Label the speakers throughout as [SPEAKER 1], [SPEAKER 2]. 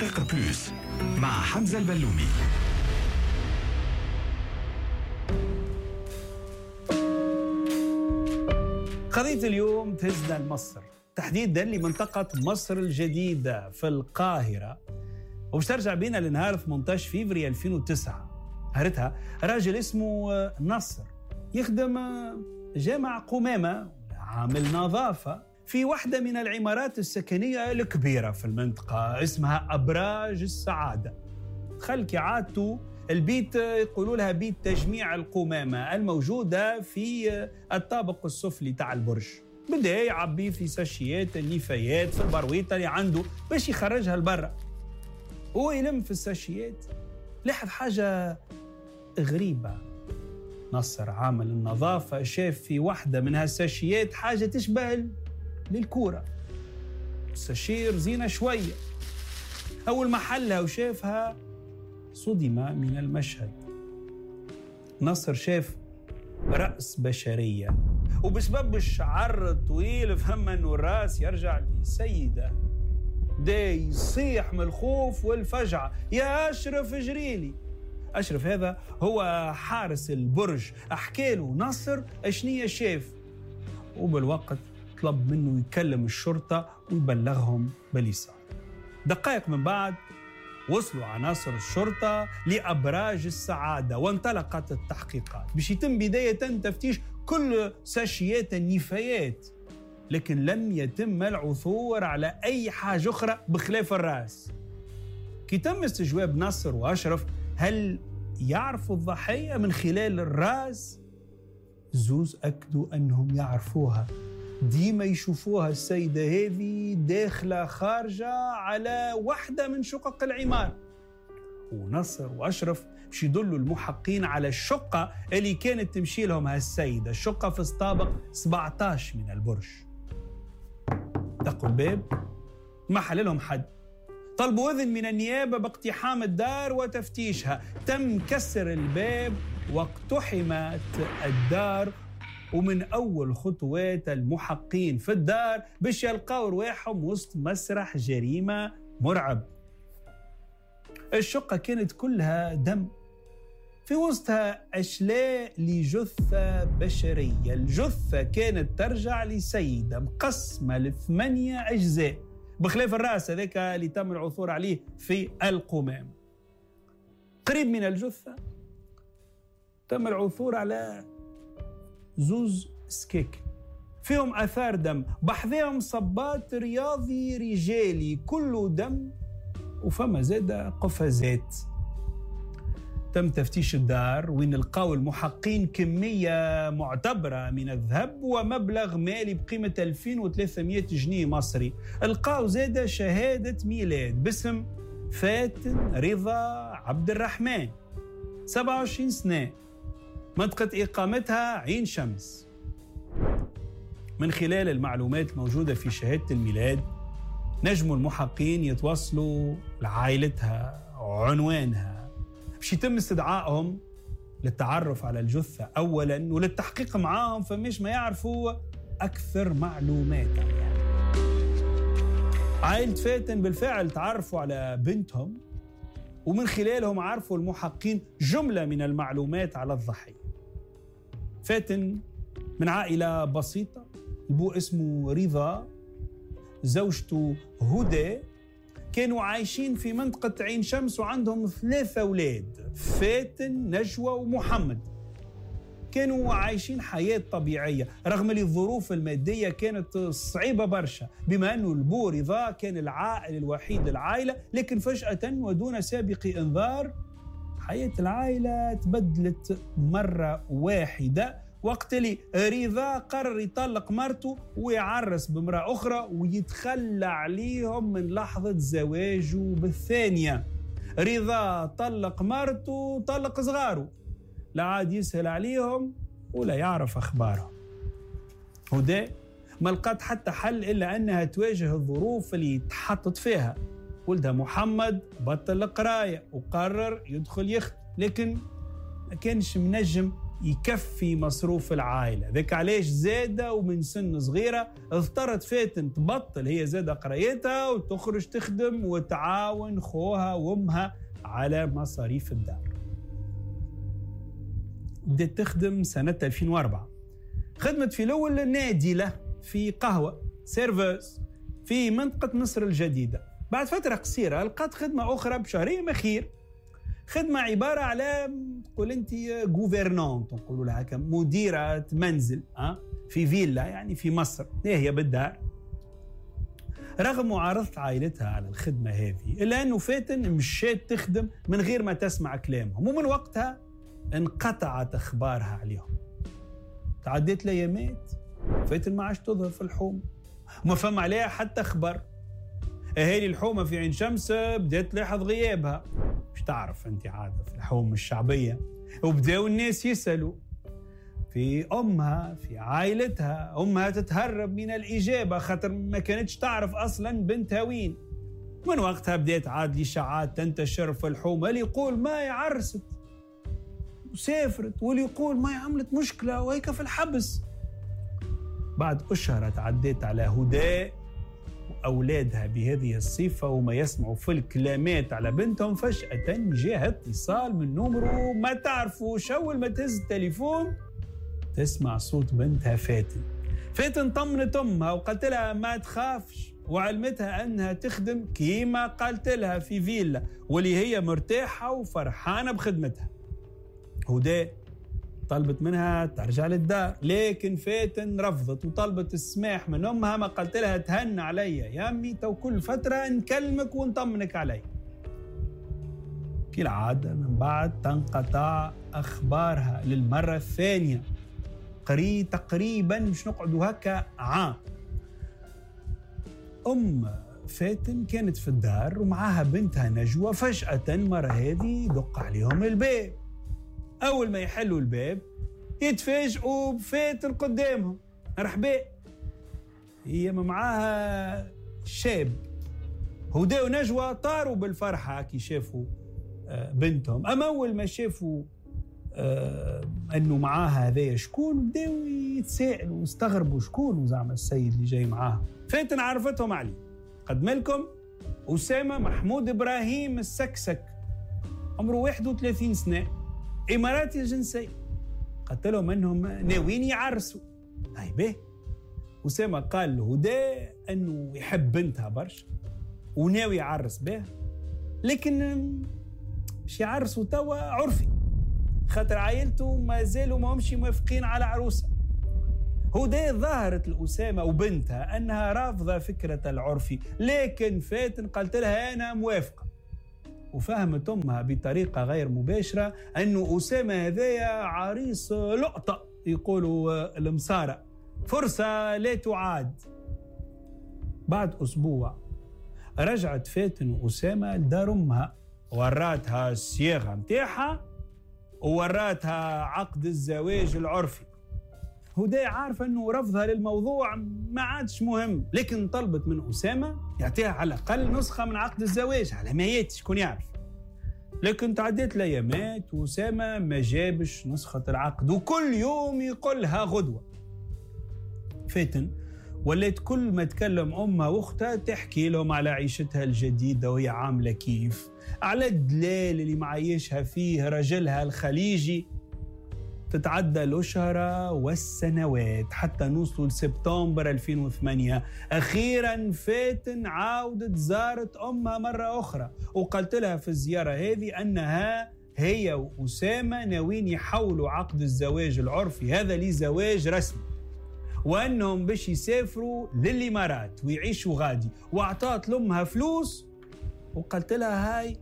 [SPEAKER 1] دقيقة plus مع حمزة البلومي.
[SPEAKER 2] قضية اليوم تهزنا لمصر، تحديدا لمنطقة مصر الجديدة في القاهرة، وباش ترجع بينا لنهار 18 فيفري 2009. هارتها راجل اسمه نصر يخدم جامع قمامة، عامل نظافة في واحدة من العمارات السكنية الكبيرة في المنطقة اسمها أبراج السعادة. دخل كعادته البيت، يقولوا لها بيت تجميع القمامة الموجودة في الطابق السفلي تاع البرج. بدأ يعبي في ساشيات النفايات في البرويطة اللي عنده باش يخرجها لبرا. هو يلم في الساشيات لاحظ حاجة غريبة. نصر عامل النظافة شاف في واحدة من هالساشيات حاجة تشبه للكورة، الساشير زينة شوية. أول ما حلها وشافها صدم من المشهد. نصر شاف رأس بشرية، وبسبب الشعر الطويل فهم أنه الرأس يرجع لسيدة. ده يصيح من الخوف والفجعة، يا أشرف جريلي. أشرف هذا هو حارس البرج، أحكاله نصر أشنية شاف، وبالوقت طلب منه يكلم الشرطة ويبلغهم باللي صار. دقائق من بعد وصلوا عناصر الشرطة لأبراج السعادة وانطلقت التحقيقات باش يتم بداية تفتيش كل ساشيات النفايات، لكن لم يتم العثور على أي حاجة أخرى بخلاف الرأس. كي تم استجواب نصر وأشرف هل يعرفوا الضحية من خلال الرأس، زوز أكدوا أنهم يعرفوها، ديما يشوفوها السيدة هذه داخلة خارجة على واحدة من شقق العمارة. ونصر وأشرف باش يدلوا المحقين على الشقة اللي كانت تمشي لهم هالسيدة، الشقة في الطابق 17 من البرج. دقوا الباب ما حللهم حد، طلبوا إذن من النيابة باقتحام الدار وتفتيشها. تم كسر الباب واقتحمت الدار، ومن أول خطوات المحقين في الدار باش يلقاو رواحهم وسط مسرح جريمة مرعب. الشقة كانت كلها دم، في وسطها أشلاء لجثة بشرية. الجثة كانت ترجع لسيدة مقسمة ل8 أجزاء بخلاف الرأس هذاك اللي تم العثور عليه في القمام. قريب من الجثة تم العثور على زوز سكيك فيهم أثار دم، بحذاهم صبات رياضي رجالي كله دم، وفما زاد قفازات. تم تفتيش الدار وين لقاو المحقين كمية معتبرة من الذهب ومبلغ مالي بقيمة 2300 جنيه مصري. لقاو زاد شهادة ميلاد باسم فاتن رضا عبد الرحمن، 27 سنة، منطقة إقامتها عين شمس. من خلال المعلومات الموجودة في شهادة الميلاد نجموا المحقين يتوصلوا لعائلتها وعنوانها باش يتم استدعائهم للتعرف على الجثة أولا وللتحقيق معاهم فمش ما يعرفوا أكثر معلومات عليها. عائلة فاتن بالفعل تعرفوا على بنتهم، ومن خلالهم عرفوا المحقين جملة من المعلومات على الضحية. فاتن من عائلة بسيطة، البو اسمه رضا، زوجته هدى، كانوا عايشين في منطقة عين شمس وعندهم 3 أولاد، فاتن، نجوى ومحمد. كانوا عايشين حياة طبيعية رغم اللي الظروف المادية كانت صعيبة برشا، بما أنه البو رضا كان العائل الوحيد للعائلة. لكن فجأة ودون سابق إنذار حياة العائلة تبدلت مرة واحدة، وقت اللي رضا قرر يطلق مرته ويعرس بامرأة أخرى ويتخلى عليهم من لحظة زواجه بالثانية. رضا طلق مرته طلق صغاره، لا عاد يسهل عليهم ولا يعرف أخبارهم. هدى ما لقت حتى حل إلا أنها تواجه الظروف اللي تحطت فيها. ولدها محمد بطل القراية وقرر يدخل يخت، لكن ما كانش منجم يكفي مصروف العائلة. ذاك علاش زادة ومن سن صغيرة اضطرت فاتن تبطل هي زادة قرايتها وتخرج تخدم وتعاون خوها وامها على مصاريف الدار. بدأت تخدم سنة 2004، خدمت في الأول نادلة في قهوة serveuse في منطقة مصر الجديدة. بعد فترة قصيرة لقات خدمة أخرى بشهرية مخير، خدمة عبارة على تقول أنت gouvernante، نقولوا لها هكا، مديرة منزل في فيلا يعني في مصر، هي بالدار. رغم معارضة عائلتها على الخدمة هذه، إلا أنه فاتن مشات تخدم من غير ما تسمع كلامهم، ومن وقتها انقطعت أخبارها عليهم. تعديت الأيامات فاتن ما عادش تظهر في الحوم، وما فهم عليها حتى خبر. أهالي الحومة في عين شمس بدأت تلاحظ غيابها، مش تعرف أنت عادة في الحوم الشعبية، وبدأوا الناس يسألوا في أمها في عائلتها. أمها تتهرب من الإجابة خاطر ما كانتش تعرف أصلا بنتها وين. من وقتها بدأت عاد الإشاعات تنتشر في الحومة، اللي يقول ما عرست وسافرت، واللي يقول ما عملت مشكلة وهيك في الحبس. بعد أشهر تعديت على هدى وأولادها بهذه الصفة وما يسمعوا في الكلامات على بنتهم، فجأة جاء اتصال من نمره ما تعرفوش. أول ما تهز التليفون تسمع صوت بنتها فاتن. فاتن طمنت أمها وقالت لها ما تخافش، وعلمتها أنها تخدم كيما قالت لها في فيلا، واللي هي مرتاحة وفرحانة بخدمتها. هدى طلبت منها ترجع للدار، لكن فاتن رفضت وطلبت السماح من أمها، ما قالت لها تهنى عليا يا أمي، تو كل فترة نكلمك ونطمنك علي. كالعادة من بعد تنقطع أخبارها للمرة الثانية، تقريبا مش نقعدوا هكا عام. أم فاتن كانت في الدار ومعاها بنتها نجوى، فجأة مرة هذه دق عليهم الباب. أول ما يحلوا الباب يتفاجئوا بفاتن قدامهم. مرحبا، هي معاها شاب. هدى ونجوى طاروا بالفرحة كي شافوا بنتهم. أما أول ما شافوا أنه معاها هذايا شكون، بداوا يتساءلوا واستغربوا شكون زعما السيد اللي جاي معاها. فاتن عرفتهم عليه، قدم لكم أسامة محمود إبراهيم السكسك، عمره 31 سنة، إماراتي الجنسية. قلت لهم أنهم ناويين يعرسوا. هاي به أسامة قال لهدى أنه يحب بنتها برشا وناوي يعرس بها، لكن مش يعرسوا توا عرفي، خاطر عائلته ما زالوا ما همش موافقين على عروسة. هدى ظهرت لأسامة وبنتها أنها رافضة فكرة العرفي، لكن فاتن قالت لها أنا موافقة. وفهمت أمها بطريقة غير مباشرة أنه أسامة هذايا عريس لقطة، يقولوا المصارى، فرصة لا تعاد. بعد أسبوع رجعت فاتن وأسامة لدار أمها، وراتها الصياغة متاعها ووراتها عقد الزواج العرفي. هدى عارفة أنه رفضها للموضوع ما عادش مهم، لكن طلبت من أسامة يعطيها على الأقل نسخة من عقد الزواج على ما ياتي شكون يعرف. لكن تعديت الأيامات وأسامة ما جابش نسخة العقد، وكل يوم يقولها غدوة. فاتن ولات كل ما تكلم أمها وأختها تحكي لهم على عيشتها الجديدة وهي عاملة كيف، على الدلال اللي معيشها فيه رجلها الخليجي. تتعدى الأشهر والسنوات حتى نوصلوا لسبتمبر 2008. أخيرا فاتن عاودت زارت أمها مرة أخرى، وقالت لها في الزيارة هذه أنها هي وأسامة ناويين يحولوا عقد الزواج العرفي هذا لزواج رسمي، وأنهم باش يسافروا للإمارات ويعيشوا غادي. وأعطت لأمها فلوس وقالت لها هاي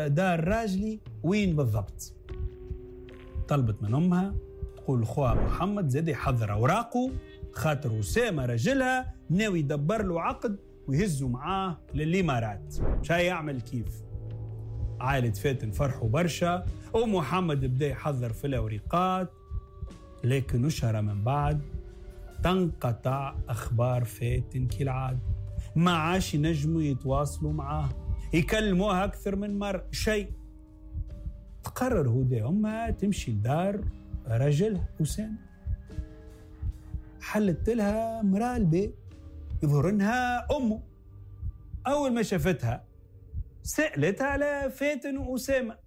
[SPEAKER 2] دار راجلي وين بالضبط. طلبت من أمها تقول لخوها محمد زاد يحضر أوراقه، خاطر أسامة رجلها ناوي يدبر له عقد ويهزوا معاه للإمارات، مش هيعمل كيف. عائلة فاتن فرحوا برشا، ومحمد بدا يحضر في الأوريقات. لكن أشهر من بعد تنقطع أخبار فاتن كالعادة، ما عاش ينجموا يتواصلوا معاه، يكلموها أكثر من مرة شيء. تقرر هدى أمها تمشي لدار رجلها أسامة. حلت لها امرأة البيت يظهر انها امه. اول ما شافتها سألتها على فاتن وأسامة.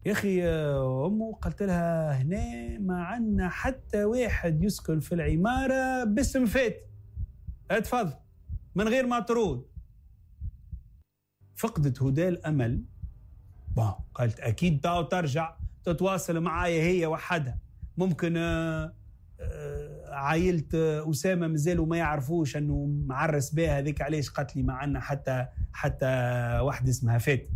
[SPEAKER 2] يا اخي امه قالت لها هنا ما عندنا حتى واحد يسكن في العمارة باسم فاتن، اتفضل من غير ما ترود. فقدت هدى الامل. قالت اكيد تاو ترجع تتواصل معايا هي وحدها، ممكن عائلة أسامة مازالوا ما يعرفوش أنه معرس بها، هذيك علاش قالت لي ما عندنا حتى واحد اسمها فاتن.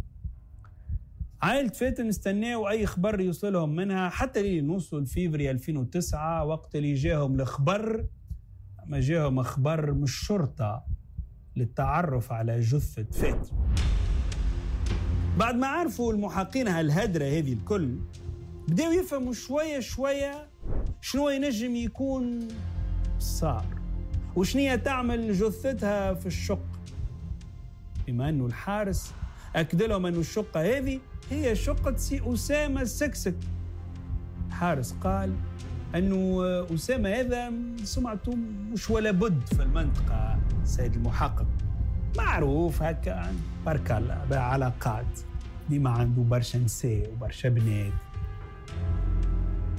[SPEAKER 2] عائلة فاتن استناو أي خبر يوصلهم منها حتى لي نوصل فيفري 2009، وقت اللي جاهم الخبر. ما جاهم خبر من الشرطة للتعرف على جثة فاتن. بعد ما عرفوا المحقين هالهدرة هذه الكل، بداوا يفهموا شوية شوية شنو ينجم يكون صار وشنية تعمل جثتها في الشقة، بما أنه الحارس أكد لهم أنه الشقة هذه هي شقة سي أسامة السكسك. الحارس قال أنه أسامة هذا سمعته مش ولا بد في المنطقة، سيد المحقق معروف هكا بارك الله بعلاقات، ديما عنده برشا نساء وبرشا بنات.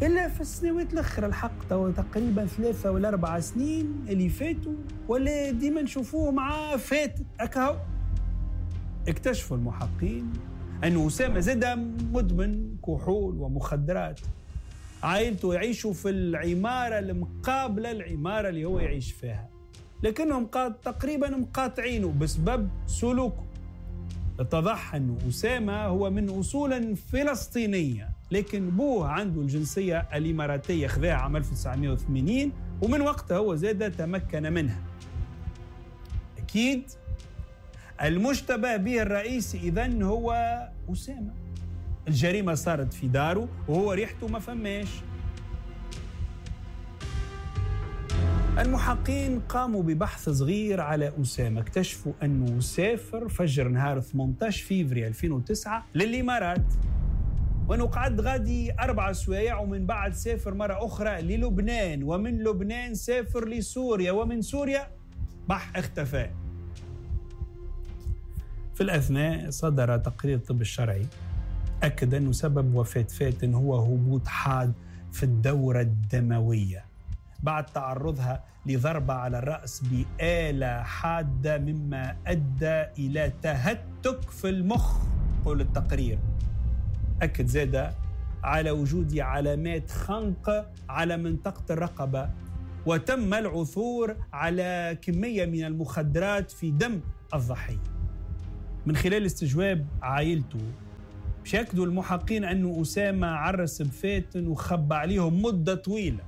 [SPEAKER 2] إلا في السنوات الأخرى الحق تقريبا 3 ولا 4 سنين اللي فاتوا ولا ديما نشوفوه مع فات أكهو. اكتشفوا المحقين أنه أسامة زاد مدمن كحول ومخدرات. عائلته يعيشوا في العمارة المقابلة العمارة اللي هو يعيش فيها، لكنهم تقريبا مقاطعينه بسبب سلوكه. اتضح أن أسامة هو من أصول فلسطينية، لكن بوه عنده الجنسية الإماراتية، خذاها عام 1980 ومن وقتها هو زاد تمكن منها. أكيد المشتبه به الرئيسي إذن هو أسامة. الجريمة صارت في داره وهو ريحته ما فماش. المحقين قاموا ببحث صغير على أسامة، اكتشفوا أنه سافر فجر نهار 18 فيفري 2009 للإمارات، وأنه قعد غادي 4 سوايع، ومن بعد سافر مرة أخرى للبنان، ومن لبنان سافر لسوريا، ومن سوريا بح اختفى. في الأثناء صدر تقرير الطب الشرعي أكد أنه سبب وفاة فاتن هو هبوط حاد في الدورة الدموية بعد تعرضها لضربة على الرأس بآلة حادة، مما أدى إلى تهتك في المخ، قول التقرير. أكد زادة على وجود علامات خنق على منطقة الرقبة، وتم العثور على كمية من المخدرات في دم الضحية. من خلال استجواب عائلته شكدوا المحقين أنه أسامة عرس بفاتن وخبى عليهم مدة طويلة،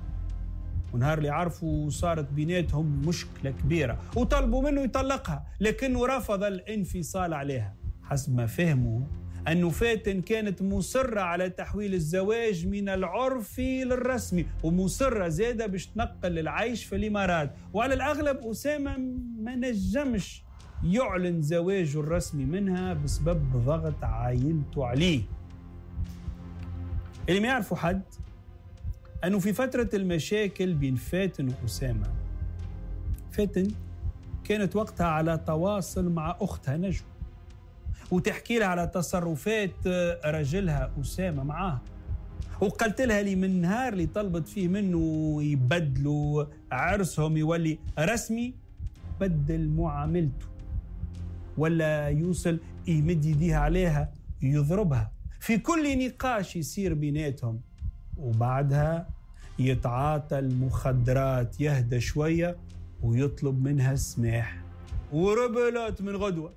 [SPEAKER 2] ونهار اللي عرفوا صارت بيناتهم مشكلة كبيرة وطلبوا منه يطلقها، لكنه رفض الانفصال عليها. حسب ما فهموا أنه فاتن كانت مصرة على تحويل الزواج من العرفي للرسمي، ومصرة زادة باش تنقل العيش في الإمارات، وعلى الأغلب أسامة ما نجمش يعلن زواجه الرسمي منها بسبب ضغط عائلته عليه. اللي ما يعرفوا حد أنه في فترة المشاكل بين فاتن وأسامة، فاتن كانت وقتها على تواصل مع أختها نجوى وتحكي لها على تصرفات رجلها أسامة معاها، وقالت لها لي من نهار اللي طلبت فيه منه يبدلوا عرسهم يولي رسمي بدل معاملته، ولا يوصل يمد يديها عليها يضربها في كل نقاش يصير بيناتهم، وبعدها يتعاطى المخدرات يهدى شوية ويطلب منها السماح وربلت من غدوة.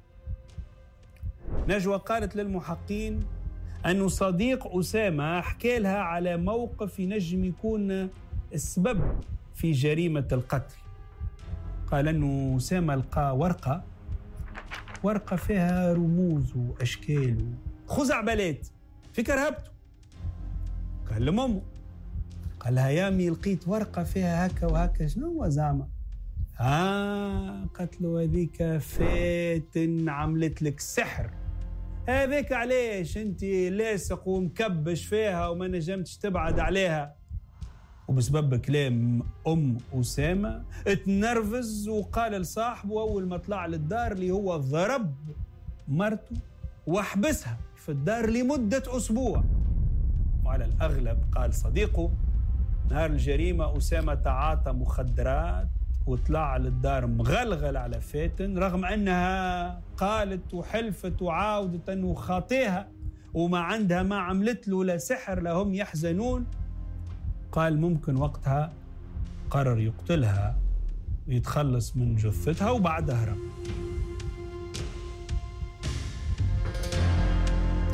[SPEAKER 2] نجوى قالت للمحقين أنه صديق أسامة حكى لها على موقف ينجم يكون السبب في جريمة القتل. قال أنه أسامة لقى ورقة فيها رموز وأشكال خزعبلات في كرهبته. كلم أمه قال لها يامي لقيت ورقة فيها هكا وهكا، شنو زعما؟ قالت له هذيك فاتن عملت لك سحر، هذاك علاش انت لاصق ومكبش فيها وما نجمتش تبعد عليها. وبسبب كلام أم أسامة اتنرفز وقال لصاحبه أول ما طلع للدار اللي هو ضرب مرته وحبسها في الدار لمدة أسبوع. وعلى الأغلب قال صديقه نهار الجريمة أسامة تعاطى مخدرات وطلع للدار مغلغل على فاتن، رغم أنها قالت وحلفت وعاودت أنه خاطيها وما عندها ما عملت له لا سحر لهم يحزنون. قال ممكن وقتها قرر يقتلها ويتخلص من جثتها وبعدها هرب.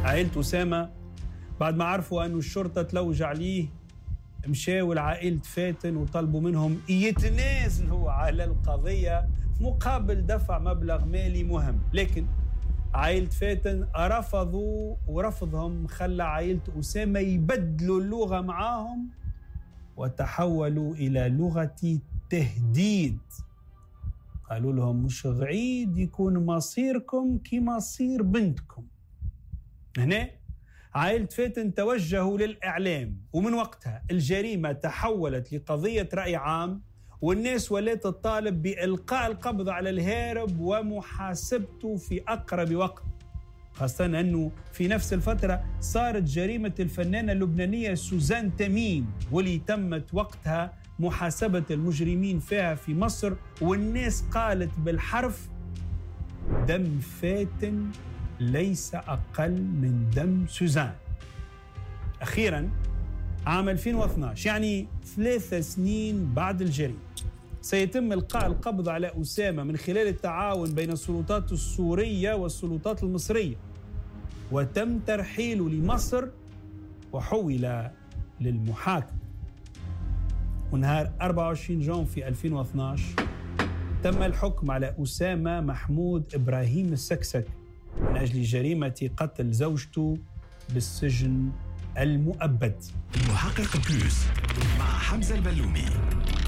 [SPEAKER 2] عائلة أسامة بعد ما عرفوا أن الشرطة تلوج عليه مشاوا لعائلة فاتن وطلبوا منهم يتنازلوا على القضية مقابل دفع مبلغ مالي مهم، لكن عائلة فاتن رفضوا، ورفضهم خلى عائلة أسامة يبدلوا اللغة معاهم وتحولوا إلى لغة تهديد. قالوا لهم مش غعيد يكون مصيركم كمصير بنتكم. هنا عائلة فاتن توجهوا للإعلام، ومن وقتها الجريمة تحولت لقضية رأي عام، والناس ولات تطالب بإلقاء القبض على الهارب ومحاسبته في أقرب وقت، خاصة أنه في نفس الفترة صارت جريمة الفنانة اللبنانية سوزان تميم، واللي تمت وقتها محاسبة المجرمين فيها في مصر، والناس قالت بالحرف دم فاتن ليس أقل من دم سوزان. أخيراً عام 2012، يعني 3 سنين بعد الجريمة، سيتم إلقاء القبض على أسامة من خلال التعاون بين السلطات السورية والسلطات المصرية، وتم ترحيله لمصر وحول للمحاكمة. ونهار 24 جون في 2012 تم الحكم على أسامة محمود إبراهيم السكسك من أجل جريمة قتل زوجته بالسجن المؤبد.
[SPEAKER 1] المحقق Plus مع حمزة البلومي.